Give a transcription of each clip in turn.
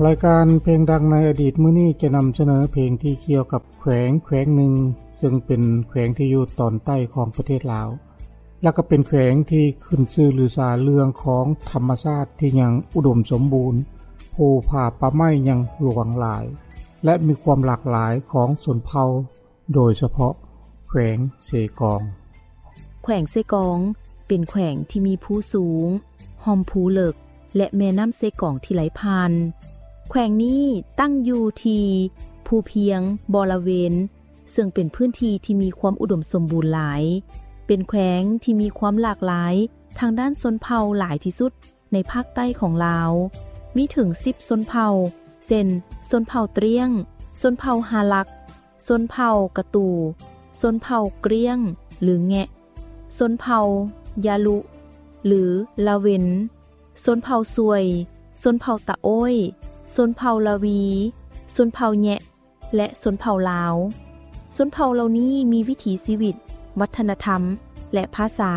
ລາຍການເພງດັງໃນອະດີດມື້ນີ້ຈະນຳສະເໜີເພງທີ່ກ່ຽວກັບແຂວງ ແຂວງໜຶ່ງ ເຊິ່ງເປັນແຂວງທີ່ຢູ່ຕອນໃຕ້ຂອງປະເທດລາວ ແລະກໍເປັນແຂວງທີ່ຂຶ້ນຊື່ລືຊາເລື່ອງຂອງທຳມະຊາດທີ່ຍັງອຸດົມສົມບູນ, ພູຜາປ່າໄມ້ຍັງຫຼວງຫຼາຍ ແລະມີຄວາມຫຼາກຫຼາຍຂອງຊົນເຜົ່າ ໂດຍສະເພາະແຂວງເຊກອງ. ແຂວງເຊກອງເປັນແຂວງທີ່ມີພູສູງ, ຮ່ອມພູເລິກ ແລະແມ່ນ້ຳເຊກອງທີ່ໄຫຼຜ່ານ. ແຂວງນີ້ຕັ້ງຢູ່ທີ່ພູພຽງບໍລະເວນ ເຊິ່ງເປັນພື້ນທີ່ທີ່ມີຄວາມອຸດົມສົມບູນຫຼາຍ, ເປັນແຂວງທີ່ມີຄວາມຫຼາກຫຼາຍທາງດ້ານຊົນເຜົ່າຫຼາຍທີ່ສຸດໃນພາກໃຕ້ຂອງລາວ, ມີເຖິງສິບຊົນເຜົ່າ ເຊັ່ນ ຊົນເຜົ່າຕຣຽງ, ຊົນເຜົ່າຮາລັກ, ຊົນເຜົ່າກະຕູ, ຊົນເຜົ່າກຣຽງ ຫຼື ແງະ, ຊົນເຜົ່າຍາລຸ ຫຼື ລາເວັນ, ຊົນເຜົ່າຊວຍ, ຊົນເຜົ່າຕະໂອ້ຍ, ຊົນເຜົ່າລາວີ, ຊົນເຜົ່າແຍະ ແລະ ຊົນເຜົ່າລາວ. ຊົນເຜົ່າເຫຼົ່ານີ້ມີວິຖີຊີວິດ, ວັດທະນະທຳ ແລະ ພາສາ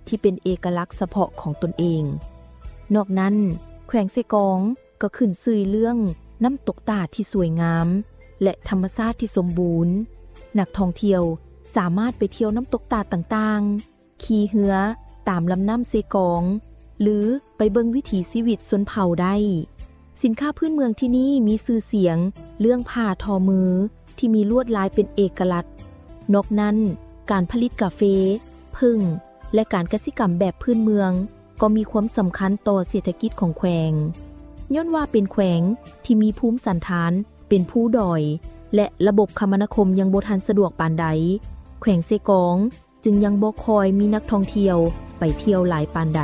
ທີ່ເປັນເອກະລັກສະເພາະຂອງຕົນເອງ. ນອກນັ້ນ, ແຂວງເຊກອງກໍຂຶ້ນຊື່ເລື່ອງນ້ຳຕົກຕາດທີ່ສວຍງາມ ແລະ ທຳມະຊາດທີ່ສົມບູນ. ນັກທ່ອງທ່ຽວສາມາດໄປທ່ຽວນ້ຳຕົກຕາດຕ່າງໆ, ຂີ່ເຮືອຕາມລຳນ້ຳເຊກອງ ຫຼື ໄປເບິ່ງວິຖີຊີວິດຊົນເຜົ່າໄດ້. ສິນຄ້າພື້ນເມືອງທີ່ນີ້ມີຊື່ສຽງເລື່ອງຜ້າທໍມືທີ່ມີລວດລາຍເປັນເອກະລັດ. ນອກນັ້ນ, ການຜະລິດກາເຟ, ເຜິ້ງ ແລະ ການກະສິກຳແບບພື້ນເມືອງກໍມີຄວາມສຳຄັນຕໍ່ເສດຖະກິດຂອງແຂວງ. ຍ້ອນວ່າເປັນແຂວງທີ່ມີພູມສັນຖານເປັນພູດອຍ ແລະ ລະບົບຄະມະນາຄົມຍັງບໍ່ທັນສະດວກປານໃດ, ແຂວງເຊກອງ ຈຶ່ງຍັງບໍ່ຄ່ອຍມີນັກທ່ອງທ່ຽວໄປທ່ຽວຫຼາຍປານໃດ.